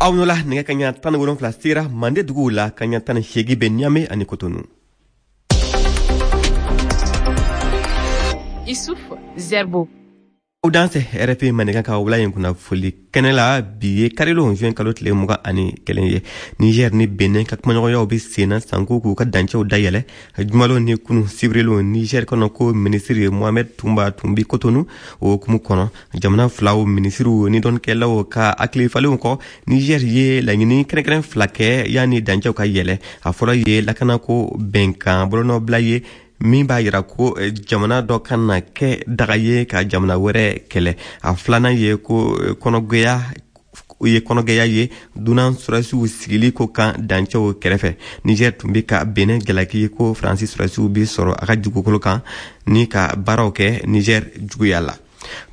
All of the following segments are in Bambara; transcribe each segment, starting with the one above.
Aw la nɛgɛ kaɲa 17 sera Mande duguw la, kaɲa 18 bɛ Niamey ani Cotonou. Issouf Zerbo. Aw dansɛ RFI Mandenkan ka wula in kunnafoli kɛnɛ la. Bi ye karilon, juin kalo tile 21 ye. Niger ni Benin ka kumaɲɔgɔnyaw bɛ senna sanko k'u ka dancɛw dayɛlɛ. Jumalon ni kunu sibirilon, Niger kɔnɔ ko minisiri Mohamed Toumba tun bi Kotonu. O hukumu kɔnɔ, jamana filaw minisiriw ni dɔnnikɛlaw ka hakilifalenw kɔ, Niger ye laɲini kɛrɛnkɛrɛn fila kɛ yanni dancɛw ka yɛlɛ. A fɔlɔ ye lakanako bɛnkan bolonɔbila ye min b'a yira ko jamana dɔ ka na kɛ daga ye ka jamana wɛrɛ kɛlɛ. A filanan ye ko kɔnɔgɛya ye kɔnɔgɛya ye dunan sɔrɔdasiw sigili ko kan dancɛw kɛrɛfɛ. Niger tun bɛ ka Benin jalaki ko Faransi sɔrɔdasiw bɛ sɔrɔ a ka dugukolo kan ni ka baaraw kɛ Niger juguya la.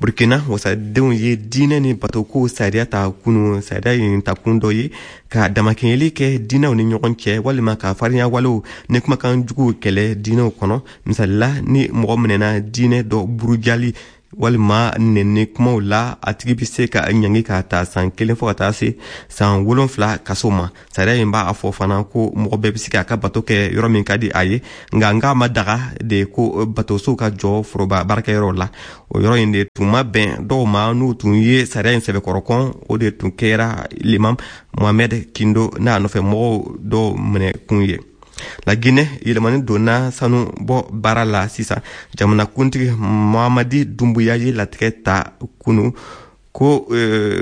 Burkina wasadenw ye diinɛ ni batoko sariya ta kunu. Sariya in takun dɔ ye ka damakɛɲɛli kɛ diinɛw ni ɲɔgɔn cɛ walima ka farinya walew ni kumakan juguw kɛlɛ diinɛw kɔnɔ. Misalila, ni mɔgɔ minɛna diinɛ dɔ burujali walima nɛni kumaw la, a tigi bɛ se ka ɲangi ka ta san 1 fo ka taa se san 7 kaso ma. Sariya in b'a fɔ fana ko mɔgɔ bɛɛ bɛ se k'a ka bato kɛ yɔrɔ min ka di a ye, nka n k'a ma daga de ko batosow ka jɔ foroba baarakɛyɔrɔw la. O yɔrɔ in de tun ma bɛn dɔw ma, n'u tun ye sariya in sɛbɛkɔrɔ kɔn. O de tun kɛra l'imam Mohamed Kindo n'a nɔfɛ mɔgɔw dɔw minɛ kun ye. La Guinée, yɛlɛmani donna sanu bɔ baara la sisan. Jamanakuntigi Mamadi Dumbuya ye latigɛ ta kunu ko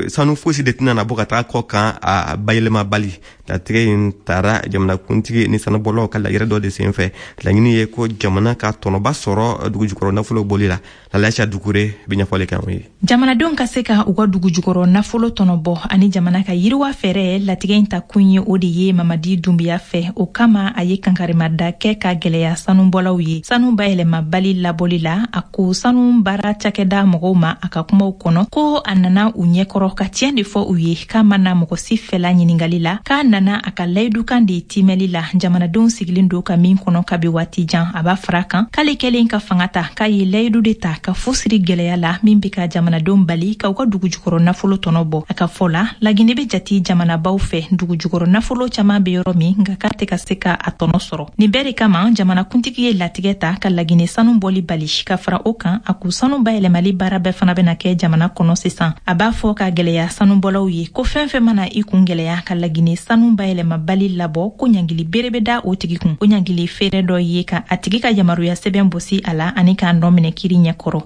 sanu fosi de tɛna na bɔ ka taga kɔ kan a bayɛlɛmabali. Latigɛ in taara jamanakuntigi ni sanubɔlaw ka lajɛrɛ dɔ de senfɛ. Laɲini ye ko jamana ka tɔnɔba sɔrɔ dugujukɔrɔ nafolo bɔli la. Lalaisa Dukure bɛ ɲɛfɔli kɛ anw ye. Jamanadenw ka se ka u ka dugujukɔrɔ nafolo tɔnɔ bɔ ani jamana ka yiriwa fɛɛrɛ, latigɛ in ta kun ye o de ye Mamadi Dumbuya fɛ. O kama, a ye kankarimada kɛ ka gwɛlɛya sanubɔlaw ye sanu bayɛlɛmabali labɔli la. A ko sanu baara cakɛda mɔgɔw ma a ka kumaw kɔnɔ ko a nana u ɲɛkɔrɔ ka tiɲɛ de fɔ u ye, k'a ma na mɔgɔ si fɛla ɲiningali la, k'a nana a ka layidukan de timɛli la jamanadenw sigilen don ka min kɔnɔ kabi waati jan. A b'a fara kan k'ale kɛlen ka fanga ta, k'a ye layidu de ta ka fu siri gwɛlɛya la min be ka jamanadenw bali ka u ka dugujukɔrɔ nafolo tɔnɔ bɔ. A ka fɔ la, Lagine be jati jamanabaw fɛ dugujukɔrɔ nafolo caaman be yɔrɔ min, nka k'a tɛ ka se ka a tɔnɔ sɔrɔ. Nin bɛɛ de kama, jamanakuntigi ye latigɛ ta ka Lagine sanu bɔli bali. Ka fara o kan, a ko sanu bayɛlɛmali baara bɛɛ fana bɛna kɛ jamana kɔnɔ sisan. A b'a fɔ ka gwɛlɛya sanubɔlaw ye ko fɛn fɛn mana i kun gwɛlɛya ka Lagine sanu bayɛlɛmabali labɔ, ko ɲangili bere bɛ da o tigi kun. O ɲangili feere dɔ ye ka a tigi ka yamaruya sɛbɛn bosi a la ani k'a nɔ minɛ kiri ɲɛkɔrɔ.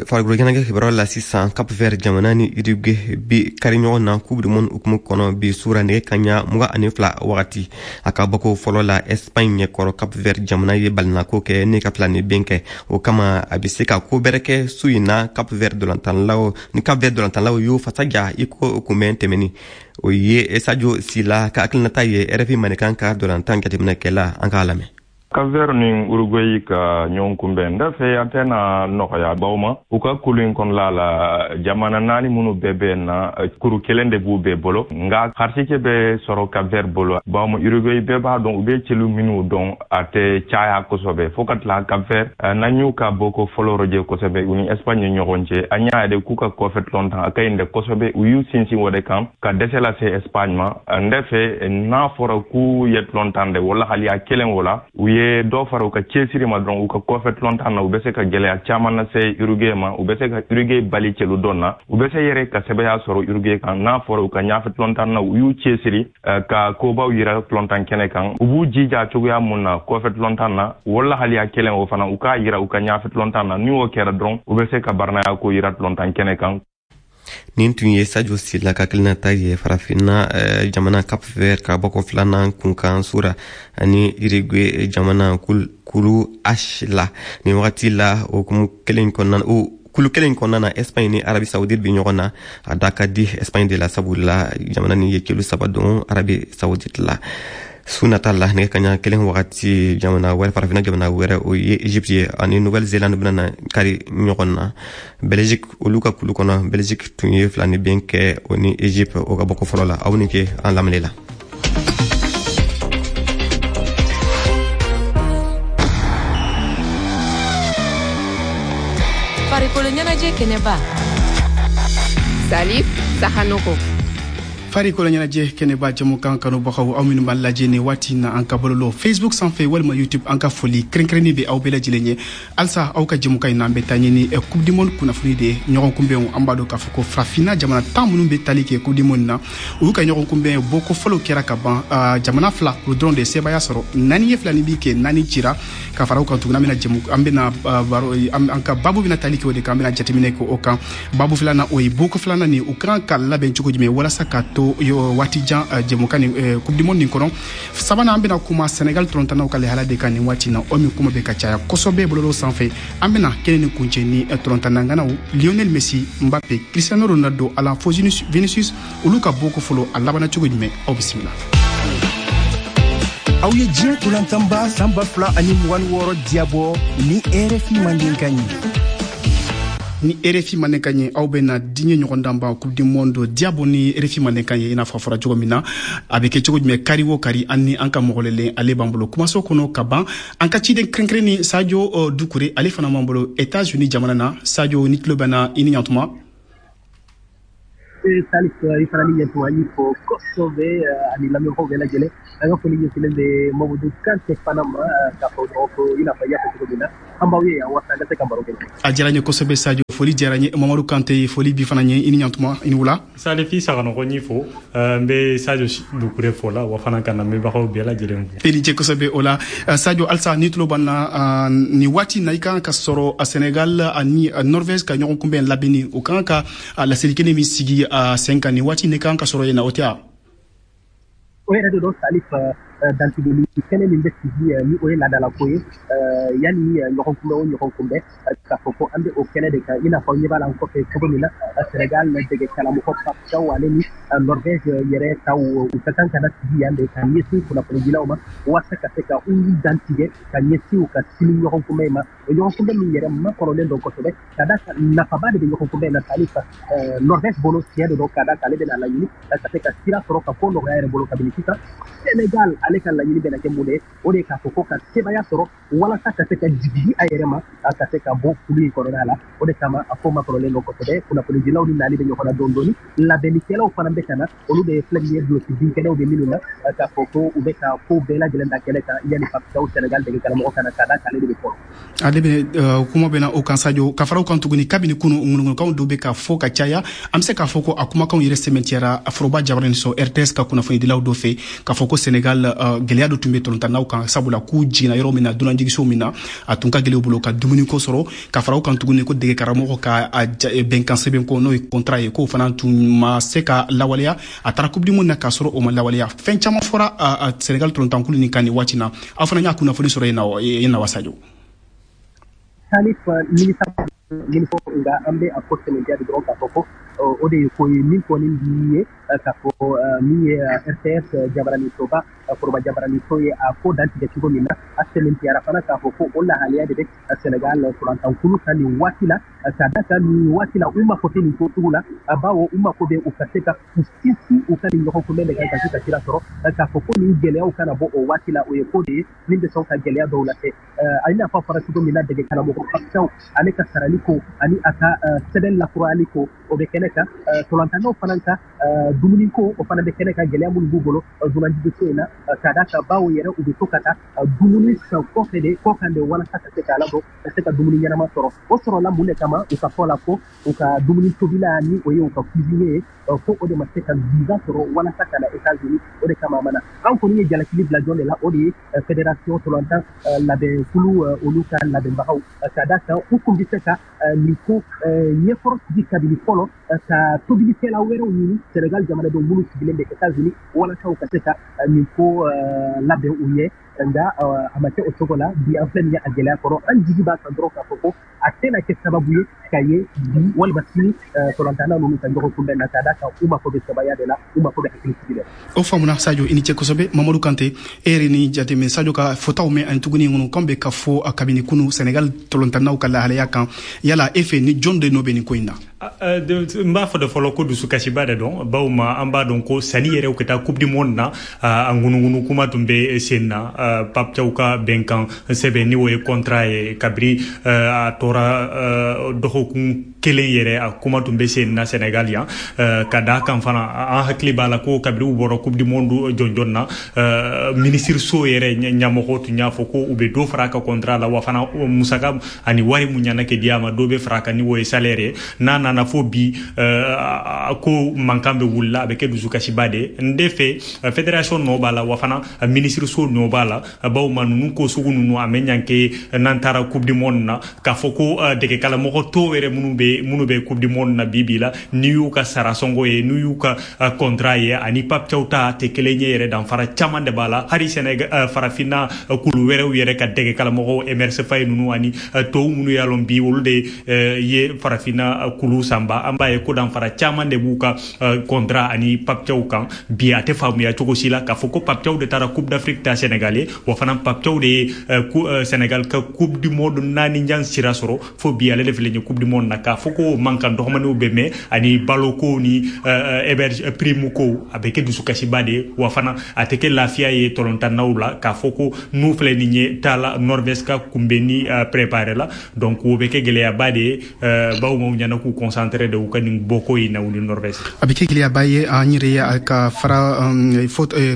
Farikolo ɲɛnajɛ kibaruyaw la sisan, Cap Vert jamana ni Uruguay bi kari ɲɔgɔn na Coupe du monde hukumu kɔnɔ bi sura nɛgɛ kaɲa 22 wagati. A ka bɔko fɔlɔ la Espagne ɲɛkɔrɔ, Cap Vert jamana ye balinako kɛ ni ka fila ni ben kɛ. O kama, a bɛ se ka ko bɛrɛ kɛ su in na Cap Vert dolantanlaw ni Cap Vert dolantanlaw y'u fasa ja i ko kunbɛn tɛmɛni. O ye Sadio Sila ka hakilinata ye, RFI Mandenkan ka dolantan jateminɛkɛla. An k'a lamɛn. Cap-Vert ni Uruguay ka ɲɔgɔn kunbɛn, n fɛ a tɛna nɔgɔya baw ma. U ka kulu in kɔnɔla la, jamana naani minnu bɛɛ bɛ na, kuru kelen de b'u bɛɛ bolo, nka harisike bɛ sɔrɔ Cap-Vert bolo, bawo Uruguay, bɛɛ b'a dɔn u bɛ celu minnu dɔn, a tɛ caya kosɛbɛ. Fo ka tila Cap-Vert, n'an y'u ka bɔko fɔlɔ rɔjɛ kosɛbɛ u ni Espagne ni ɲɔgɔn cɛ, an y'a ye k'u ka kɔfɛ tulon tan a ka ɲi dɛ kosɛbɛ. U y'u sinsin o de kan ka dɛsɛ lase Espagne ma. N fɛ n'a fɔra k'u ye tulon tan dɛ, wala hali a kelen o la, u ye dɔ fara u ka cɛsiri ma dɔrɔn u ka kɔfɛ tulon tan na, u bɛ se ka gɛlɛya caman lase Uruguay ma. U bɛ se ka Uruguay bali celu dɔn na, u bɛ se yɛrɛ ka sɛbɛya sɔrɔ Uruguay kan. N'a fɔra u ka ɲafɛ tulon tan na, u y'u cɛsiri ka kobaw yira tulon tan kɛnɛ kan, u b'u jija cogoya mun na kɔfɛ tulon tan na, wala hali a kelen o fana, u k'a yira u ka ɲafɛ tulon tan na. Ni o kɛra dɔrɔn, u bɛ se ka baranaya ko yira tulon tan kɛnɛ kan. Nin tun ye Sadio Sila ka hakilinata ye Farafinna jamana Cap Vert ka bɔko filanan kunkan sura ani Uruguay jamana kulu H la. Nin wagati la, o hukumu kelen kɔnɔna, o kulu kelen kɔnɔna na, Espagne ni Arabie Saoudite bi ɲɔgɔn na. A da ka di Espagne de la, sabula jamana ni ye kilo saba don Arabie Saoudite la. Su nata la, nɛgɛ kaɲa 1 wagati, jamana wɛrɛ, Farafinna jamana wɛrɛ, o ye Egypte ye, ani Nouvelle Zélande bɛna na kari ɲɔgɔn na. Belgique, olu ka kulu kɔnɔ, Belgique tun ye fila ni ben kɛ o ni Egypte o ka bɔko fɔlɔ la. Aw ni ke an lamɛnni la. Farikolo ɲɛnajɛ kɛnɛba, Salif Sahanoko. Farikolo ɲɛnajɛ kɛnɛba jɛmukan kanubagaw, aw minnu b'an lajɛ nin waati na an ka bɔlɔlɔ Facebook sanfɛ walima YouTube, an ka foli kɛrɛnkɛrɛnnen bɛ aw bɛɛ lajɛlen ye. Halisa aw ka jɛmukan in na, an bɛ taa ɲini Coupe du monde kunnafoni de ye. Ɲɔgɔn kunbɛnw, an b'a dɔn k'a fɔ ko farafinna jamana 10 minnu bɛ tali kɛ Coupe du monde na, u y'u ka ɲɔgɔn kunbɛn bɔko fɔlɔw kɛra ka ban. Jamana fila, olu dɔrɔn de sebaaya sɔrɔ, 4 ye 2 ni bi kɛ, 4 cira. Ka fara o kan tuguni, an bɛna jɛmu, an bɛna baro, an ka babu bɛna tali kɛ o de kan, an bɛna jateminɛ kɛ o kan. Babu filanan, o ye bɔko filanan nin, u kan ka labɛn cogo jumɛn walasa ka to waati jan jɛmukan ni Coupe du monde nin kɔnɔ. Sabanan, an bɛna kuma Senegal tɔrɔntanaw ka lahala de kan nin waati na, o min kuma bɛ ka caya kosɛbɛ bɔlɔlɔ sanfɛ. An bɛna kɛnɛ nin kuncɛ ni tɔrɔntannanganaw Lionel Messi, Mbappe, Cristiano Ronaldo, Alan fo Vinicius, olu ka bɔko fɔlɔ, a labanna cogo jumɛn? Aw bisimila. Aw ye diɲɛ tolantanba san 2026 diyabɔ ni RFI Mandenkan ye. Ni RFI Mandenkan ye, aw bɛna diɲɛ ɲɔgɔndanba Coupe du monde diyabɔ ni RFI Mandenkan ye. I n'a fɔ a fɔra cogo min na, a bɛ kɛ cogo jumɛn kari o kari, an ni an ka mɔgɔlelen ale b'an bolo kumaso kɔnɔ ka ban. An ka ciden kɛrɛnkɛrɛnni Sadio Dukure, ale fana b'an bolo États-Unis jamana na. Sadio, ni tulo bɛ na, i ni ɲantuma. Salif, i fana ni ɲantuma, i fo kosɛbɛ ani lamɛnbagaw bɛɛ lajɛlen. An ka foli ɲɛsinnen bɛ Mamadu Kante fana ma, k'a fɔ dɔrɔn ko i n'a fɔ i y'a fɔ cogo min na, an b'aw ye yan walasa an ka se ka baro kɛ. A diyara n ye kosɛbɛ Sadio, foli diyara n ye. Mamadu Kante, foli bi fana ye, i ni ɲantuma, i ni wula. Salif, i Saganɔgɔ n'i fo, n bɛ Sadio Dukure fo la, wa fana ka lamɛnbagaw bɛɛ lajɛlen fo. I ni ce kosɛbɛ o la. Sadio, halisa ni tulo b'an na nin waati na, i kan ka sɔrɔ Senegal ani Norvège ka ɲɔgɔn kunbɛn labɛnni, o kan ka laseli kɛnɛ min sigi sen kan nin waati, ne kan ka sɔrɔ yen na, o tɛ wa? O yɛrɛ de don Salif, dantigɛli kɛnɛ min bɛ sigi ni o ye laadalako ye yanni ɲɔgɔn kunbɛn o ɲɔgɔn kunbɛn, k'a fɔ ko an bɛ o kɛnɛ de kan. I n'a fɔ ɲɛ b'a la an kɔfɛ cogo min na, Senegal dege karamɔgɔ Pape Thiaw, ale ni Norvège yɛrɛ taw, u ka kan ka na sigi yan de ka ɲɛsin kunnafonidilaw ma walasa ka se ka u dantigɛ ka ɲɛsin u ka sini ɲɔgɔn kunbɛn ma. O ɲɔgɔn kunbɛn min yɛrɛ makɔrɔlen don kosɛbɛ, ka d'a kan nafaba de bɛ ɲɔgɔn kunbɛn na Salif. Norvège bolo, tiɲɛ de don, ka d'a kan ale bɛna laɲini ka se ka sira sɔrɔ ka ko nɔgɔya yɛrɛ bolo kabini sisan. Senegal, ale ka laɲini bɛna kɛ mun de ye? O de ye k'a fɔ ko ka sebaaya sɔrɔ walasa ka se ka jigi a yɛrɛ ma, ka se ka bɔ kulu in kɔnɔna la. O de kama a ko makɔrɔlen don kosɛbɛ. Kunnafonidilaw ni nali bɛ ɲɔgɔn na dɔɔni dɔɔni, labɛnnikɛlaw fana bɛ ka na, olu de filɛ nin ye duloki binkɛnɛw bɛ minnu na, k'a fɔ ko u bɛ ka ko bɛɛ lajɛlen da kɛnɛ kan yanni Pape Thiaw, Senegal dege karamɔgɔ ka na, ka d'a kan ale de bɛ fɔlɔ. Ale bɛ kuma bɛ na o kan Sadio. Ka fara o kan tuguni, kabini kunu ŋunuŋunukanw dɔw bɛ ka fɔ ka caya, an bɛ se k'a fɔ ko a kumakanw yɛrɛ sɛmɛntiyara foroba jabaranin so RTS ka kunnafonidilaw dɔ fɛ, k'a fɔ ko Senegal gɛlɛya dɔ tun bɛ tɔlɔntannaw kan, sabula k'u jiginna yɔrɔ min na, dunanjiginso min na, a tun ka gɛlɛn u bolo ka dumuniko sɔrɔ. Ka fara o kan tuguni, ko dege karamɔgɔ ka bɛnkan sɛbɛn ko n'o ye contrat ye, k'o fana tun ma se ka lawaleya. A taara Coupe du monde na k'a sɔrɔ o ma lawaleya. Fɛn caman fɔra Senegal tɔlɔntankulu nin kan nin waati na. Aw fana y'a kunnafoni sɔrɔ yen na wa, Sadio? Salif, nimisa min fɔ, nka an bɛ a ko sɛmɛntiya de dɔrɔn k'a fɔ ko o de ye ko ye min kɔni b'i ye k'a fɔ min ye RTS jabaraninsoba, foroba jabaraninso ye a ko dantigɛ cogo min na, a sɛmɛntiyara fana k'a fɔ ko o lahalaya de bɛ Senegal tɔlɔntankulu kan nin waati la, ka d'a kan nin waati la u mako tɛ nin ko sugu la, bawo u mako bɛ u ka se ka u sinsin u ka nin ɲɔgɔn kunbɛn de kan ka se ka sira sɔrɔ, k'a fɔ ko nin gɛlɛyaw kana bɔ o waati la. O ye ko de ye min bɛ sɔn ka gɛlɛya dɔw lase. A i n'a fɔ a fɔra cogo min na, dege karamɔgɔ Pape Thiaw, ale ka sarali ko ani a ka sɛbɛn lakurayali ko, o bɛ kɛnɛ kan. Tɔlɔntannaw fana ka dumuni ko, o fana bɛ kɛnɛ kan, gɛlɛya minnu b'u bolo dunanjiginso in na, ka d'a kan bawo yɛrɛ u bɛ to ka taa dumuni san kɔfɛ de, kɔkan de, walasa ka se k'a ladon ka se ka dumuni ɲɛnama sɔrɔ. O sɔrɔla mun de kama? U ka fɔ la ko u ka dumuni tobila, ni o ye u ka cuisinier ye, ko o de ma se ka visa sɔrɔ walasa ka na États-Unis, o de kama a ma na. An kɔni ye jalakili bila jɔn de la? O de ye fédération tɔlɔntan labɛnkulu, olu ka labɛnbagaw, ka d'a kan u kun bɛ se ka nin ko ɲɛkɔrɔ sigi kabini fɔlɔ, ka tobilikɛla wɛrɛw ɲini Senegal jamanadenw minnu sigilen bɛ États-Unis, walasa u ka se ka nin ko labɛn u ye. Nka a ma kɛ o cogo la. Bi an filɛ nin ye a gɛlɛya kɔrɔ, an jigi b'a kan dɔrɔn k'a fɔ ko a tɛna kɛ sababu ye ka ye bi walima sini tɔlɔntanna ninnu ka ɲɔgɔn kunbɛn na, ka d'a kan u mako bɛ sebaaya de la, u mako bɛ hakilisigi de la. O faamuna Sadio, i ni ce kosɛbɛ. Mamadu Kante, e yɛrɛ ni jateminɛ Sadio ka fɔtaw mɛn ani tuguni ŋunukan bɛ ka fɔ kabini kunu Senegal tɔlɔntannaw ka lahalaya kan, yala e fɛ ni jɔn de nɔ bɛ nin ko in na? N b'a fɔ de fɔlɔ ko dusukasiba de don, bawo ma an b'a dɔn ko sani yɛrɛ ka taa Coupe du monde na, a ŋunuŋunu kuma tun bɛ sen na. Pape Thiaw ka bɛnkan sɛbɛn, ni o ye contrat ye, kabiri a tora dɔgɔkun kelen yɛrɛ, a kuma tun bɛ sen na Sénégal yan. Ka da kan fana, an hakili b'a la ko kabiri u bɔra Coupe du monde jɔnjɔn na, ministre so yɛrɛ ɲɛmɔgɔ tun y'a fɔ ko u bɛ dɔ fara a ka contrat la, wa fana musaka ani wari mun ɲana kɛ di a ma, dɔ bɛ fara a kan ni o ye salaire ye. N'a nana fo bi ko mankan bɛ wulila, a bɛ kɛ dusukasiba de ye. N de fɛ, fédération nɔ b'a la, wa fana ministre so nɔ b'a la, bawo ma ninnu ko sugu ninnu a bɛ ɲanke n'an taara Coupe du monde na, k'a fɔ ko dɛgɛkalamɔgɔ tɔw yɛrɛ minnu bɛ Coupe du monde na bi bi la, n'i y'u ka sara sɔngɔ ye, n'u y'u ka contrat ye, ani Pape Thiaw ta tɛ kelen ye yɛrɛ. Danfara caman de b'a la. Hali Sénégal, farafinna kulu wɛrɛw yɛrɛ ka dɛgɛkalamɔgɔw, Emerse Faé ninnu ani tɔw minnu y'a lɔn bi olu de ye farafinna kulu sanba, an b'a ye ko danfara caman de b'u ka contrat ani Pape Thiaw kan. Bi a tɛ faamuya cogo si la k'a fɔ ko Pape Thiaw de taara Coupe d'Afrique ta Sénégal ye, wa fana Pape Thiaw de ye Sénégal ka Coupe du monde naani jan sira sɔrɔ. Fo bi ale de filɛ nin ye Coupe du monde na, k'a fɔ ko mankan dɔgɔmaninw bɛ mɛn ani baloko ni héberge prime ko, a bɛ kɛ dusukasiba de ye, wa fana a tɛ kɛ lafiya ye tɔlɔntannaw la, k'a fɔ ko n'u filɛ nin ye taala Norvège ka kunbɛnni préparé la. Donc o bɛ kɛ gɛlɛyaba de ye, bawo maaw ɲɛna k'u concentré de u ka nin bɔko in na, u ni Norvège. A bɛ kɛ gɛlɛyaba ye. An yɛrɛ ye ka fara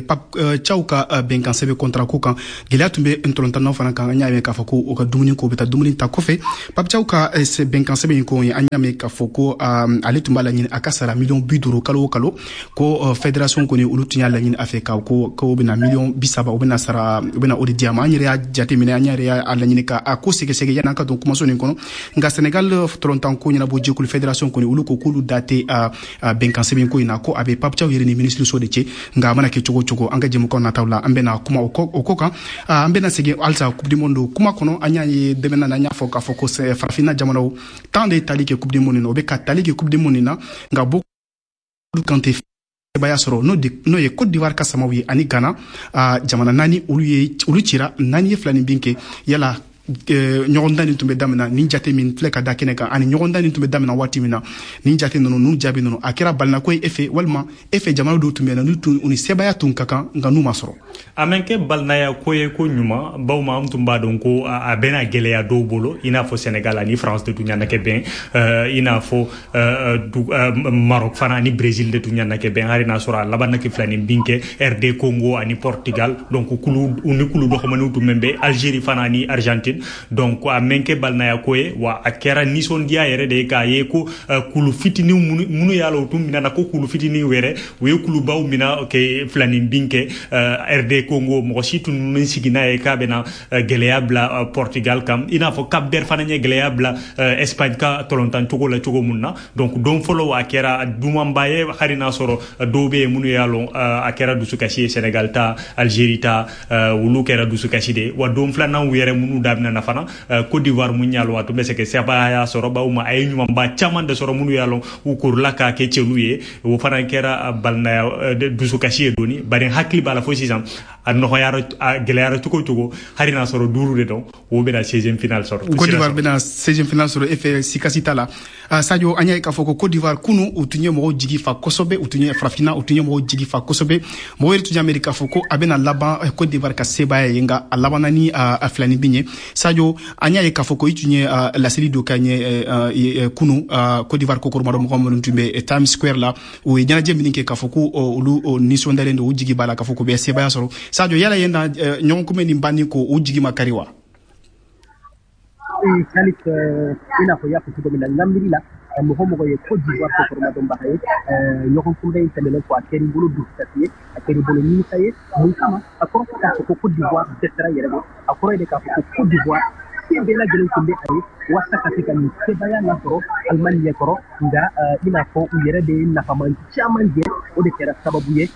Pape Thiaw ka bɛnkan sɛbɛn contrat ko kan, gɛlɛya tun bɛ ntɔlɔntannaw fana kan. An y'a mɛn k'a fɔ ko u ka dumuni ko, u bɛ taa dumuni ta kɔfɛ. Pape Thiaw ka bɛnkan sɛbɛn in ko, an y'a mɛn k'a fɔ ko ale tun b'a laɲini a ka sara miliyɔn 50 kalo o kalo, ko fédération kɔni, olu tun y'a laɲini a fɛ ka ko bɛna miliyɔn 30, u bɛna sara, u bɛna o de di a ma. An yɛrɛ y'a jateminɛ, an yɛrɛ y'a laɲini ka a ko sɛgɛsɛgɛ yanni an ka don kumaso nin kɔnɔ. Nka Sénégal tɔlɔntan ko ɲɛnabɔ jɛkulu fédération kɔni, olu ko k'olu da tɛ bɛnkan sɛbɛn ko in na, ko a bɛ Pape Thiaw yɛrɛ ni ministre so de cɛ. Nka a mana kɛ cogo o cogo, an ka jɛmukan nataw la, an bɛna kuma o ko kan. An bɛna segin halisa Coupe du monde kuma kɔnɔ. An y'a ye dɛmɛ na, an y'a fɔ k'a fɔ ko farafinna jamanaw tan de ye tali kɛ Coupe du monde na, o bɛ ka tali kɛ Coupe du monde na, nka Boko Kante sebaaya sɔrɔ, n'o ye Côte d'Ivoire ka samaw ye ani Ghana, jamana naani, olu ye olu cira 4-2 ni bin kɛ. Yala ɲɔgɔndan nin tun bɛ daminɛ, nin jate min filɛ ka da kɛnɛ kan, ani ɲɔgɔndan nin tun bɛ daminɛ waati min na, nin jate ninnu n'u jaabi ninnu, a kɛra balinako ye e fɛ, walima e fɛ jamana dɔw tun bɛ yen n'u ni sebaaya tun ka kan, nka n'u ma sɔrɔ? A mɛn kɛ balinaya ko ye ko ɲuman, bawo ma an tun b'a dɔn ko a bɛna gɛlɛya dɔw bolo, i n'a fɔ Sénégal ani France de tun ɲana kɛ bɛn, i n'a fɔ Maroc fana ani Brésil de tun ɲana kɛ bɛn, hali n'a sɔrɔ a laban na kɛ fila ni bin kɛ, RD Congo ani Portugal. Donc kulu ni kulu dɔgɔmaniw tun bɛ Algérie fana ani Argentine. Donc a mɛn kɛ balinaya ko ye, wa a kɛra nisɔndiya yɛrɛ de ye k'a ye ko kulu fitinin minnu y'a la, u tun minɛna ko kulu fitinin yɛrɛ, u ye kulubaw mina kɛ fila ni bin kɛ. RD Congo, mɔgɔ si tun min sigi n'a ye k'a bɛna gɛlɛya bila Portugal kan, i n'a fɔ Cap Vert fana ye gɛlɛya bila Espagne ka tɔlɔntan cogo la cogo mun na. Donc don fɔlɔ a kɛra dumanba ye, hali n'a sɔrɔ dɔw bɛ yen minnu y'a lɔn a kɛra dusukasi ye. Sénégal ta, Algérie ta, olu kɛra dusukasi de ye. Wa don filanan yɛrɛ minnu daminɛna fana, Côte d'Ivoire mun y'a lɔn a tun bɛ se ka sebaaya sɔrɔ, bawo ma a ye ɲumanba caman de sɔrɔ minnu y'a lɔn u korila k'a kɛ cɛlu ye, o fana kɛra balinaya dusukasi ye dɔɔni. Bari hakili b'a la fo sisan, a nɔgɔyara, a gɛlɛyara cogo o cogo, hali n'a sɔrɔ duuru de dɔn, o bɛna 16e finale sɔrɔ. Côte d'Ivoire bɛna 16e finale sɔrɔ, e fɛ sikasi t'a la. Sadio, an y'a ye k'a fɔ ko Côte d'Ivoire kunu, u tun ye mɔgɔw jigi fa kosɛbɛ, u tun ye farafinna, u tun ye mɔgɔw jigi fa kosɛbɛ. Mɔgɔw yɛrɛ tun y'a miiri k'a fɔ ko a bɛna laban Côte d'Ivoire ka sebaaya ye, nka a labanna ni a fila ni bin ye. Sadio, an y'a ye k'a fɔ ko i tun ye laseli dɔ kɛ an ye kunu. Côte d'Ivoire kokoromadɔ mɔgɔ minnu tun bɛ Times Square la, u ye ɲɛnajɛ min kɛ, k'a fɔ ko olu nisɔndiyalen don, u jigi b'a la k'a fɔ k'u bɛ sebaaya sɔrɔ. Sadio, yala yen na ɲɔgɔn kunbɛn nin banni ko, u jigi ma kari wa? Salif, i n'a fɔ i y'a fɔ cogo min na, n ka miiri la, mɔgɔ mɔgɔ ye Côte d'Ivoire kokoromadɔnbaga ye, ɲɔgɔn kunbɛn in tɛmɛnen kɔ, a kɛr'i bolo dusukasi ye, a kɛr'i bolo nimisa ye. Mun kama? A kɔrɔ tɛ k'a fɔ ko Côte d'Ivoire dɛsɛra yɛrɛ bɔ, a kɔrɔ ye de k'a fɔ ko Côte d'Ivoire se bɛɛ lajɛlen tun bɛ a ye walasa ka se ka nin sebaaya lasɔrɔ Allemagne ɲɛkɔrɔ. Nka i n'a fɔ u yɛrɛ de ye nafaman caman jɛ, o de kɛra sababu ye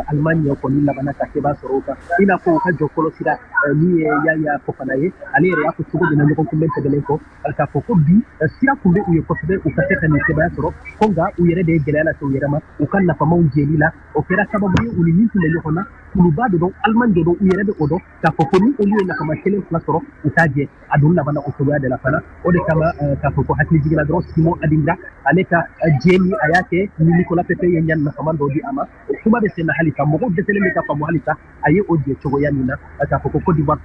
Allemagne kɔni labanna ka seba sɔrɔ o kan. I n'a fɔ u ka jɔ fɔlɔ sira min ye Yaya Fofana ye, ale yɛrɛ y'a fɔ cogo min na ɲɔgɔn kunbɛn tɛmɛnen kɔ, k'a fɔ ko bi sira tun bɛ u ye kosɛbɛ u ka se ka nin sebaaya sɔrɔ, ko nka u yɛrɛ de ye gɛlɛya lase u yɛrɛ ma u ka nafamaw jɛli la. O kɛra sababu ye u ni min tun bɛ ɲɔgɔn na, kuluba de don, Allemagne de don, u yɛrɛ bɛ o dɔn k'a fɔ ko ni olu ye nafama kelen fila sɔrɔ, u t'a jɛ. A dun labanna o cogoya de la fana. O de kama k'a fɔ ko hakili jiginna dɔrɔn, Simon Adingra, ale ka jɛ min a y'a kɛ ni Nicolas Pepe ye ɲani nafama dɔ di a ma, o kuma bɛ sen na halisa. Mɔgɔw dɛsɛlen bɛ ka faamu halisa a ye o jɛ cogoya min na, k'a fɔ ko Côte d'Ivoire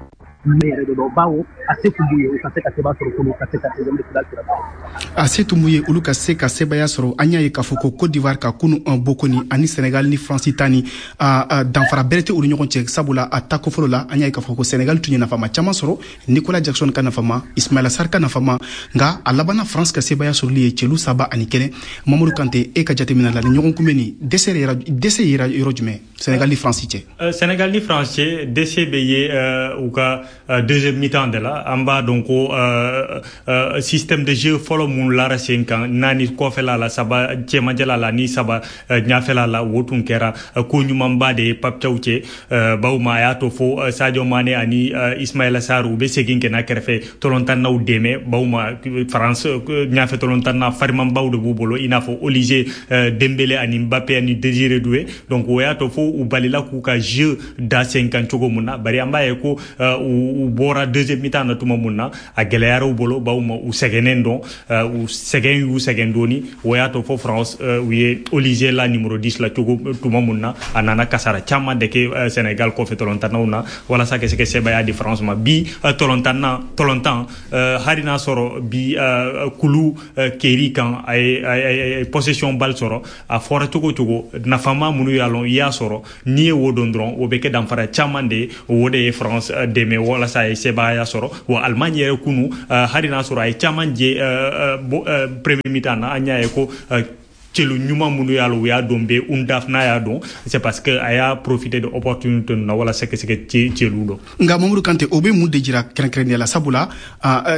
Ne yɛrɛ de dɔn, bawo a se tun b'u ye u ka se ka seba sɔrɔ kunu, ka se ka 16e de finale sira. A se tun b'u ye olu ka se ka sebaya sɔrɔ. An y'a ye k'a fɔ ko Côte d'Ivoire ka kunu bokoni ani Sénégal ni France ta ni danfara bɛrɛ tɛ olu ɲɔgɔn cɛ, sabula a tako fɔlɔ la, an y'a ye k'a fɔ ko Sénégal tun ye nafama caman sɔrɔ, Nicolas Jackson ka nafama, Ismaila Sarr ka nafama, nka a labanna France ka sebaya sɔrɔli ye celu 3-1. Mamadu Kante, e ka jateminɛ la, ni ɲɔgɔn kunbɛn ni dɛsɛ yera yɔrɔ jumɛn Sénégal ni France cɛ? Sénégal ni France cɛ, dɛsɛ bɛ ye u ka deuxième mi-temps de la. An b'a dɔn ko système de jeu fɔlɔ mun lara sen kan, naani kɔfɛla la, saba cɛmancɛla la ni saba ɲafɛla la, o tun kɛra ko ɲumanba de ye Pape Thiaw cɛ, bawo ma a y'a to fo Sadio Mané ani Ismaïla Sarr u bɛ segin ka na kɛrɛfɛ tɔlɔntannaw dɛmɛ, bawo ma France ɲafɛ tɔlɔntanna farimanbaw de b'u bolo, i n'a fɔ Olise, Dembélé ani Mbappé ani Désiré Doué. Donc o y'a to fo u balila k'u ka jeu da sen kan cogo mun na. Bari an b'a ye ko u bɔra deuxième mi-temps na tuma mun na, a gɛlɛyara u bolo, bawo ma u sɛgɛnnen dɔn, u sɛgɛn y'u sɛgɛn dɔɔni. O y'a to fo France u ye Olise la numéro 10 la cogo tuma mun na, a nana kasara caman de kɛ Sénégal kɔfɛ tɔlɔntannaw na walasa ka se ka sebaaya di France ma. Bi tɔlɔntanna tɔlɔntan, hali n'a sɔrɔ bi kulu keri kan a ye possession balle sɔrɔ, a fɔra cogo cogo, nafama minnu y'a lɔn i y'a sɔrɔ, n'i ye wo dɔn dɔrɔn, o bɛ kɛ danfara caman de ye. O de ye France dɛmɛ walasa a ye sebaaya sɔrɔ. Wa Allemagne yɛrɛ kunu, hali n'a sɔrɔ a ye caman jɛ premier mi-temps na, an y'a ye ko celu ɲuman minnu y'a la u y'a dɔn bɛ Undaf n'a y'a dɔn, c'est parce que a y'a profité de opportunité na walasa ka se ka celu dɔn. Nka Mamadu Kante, o bɛ mun de jira kɛrɛnkɛrɛnnenya la? Sabula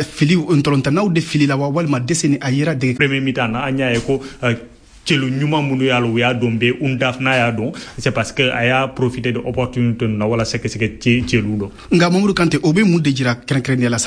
fili ntɔlɔntannaw de fili la wa, walima dɛsɛ ni a yera dege? Premier mi-temps na, an y'a ye ko celu ɲuman minnu y'a la u y'a dɔn bɛ Undaf n'a y'a dɔn, c'est parce que a y'a profité de opportunité na walasa ka se ka celu dɔn. Nka Mamadu Kante, o bɛ mun de jira kɛrɛnkɛrɛnnenya la?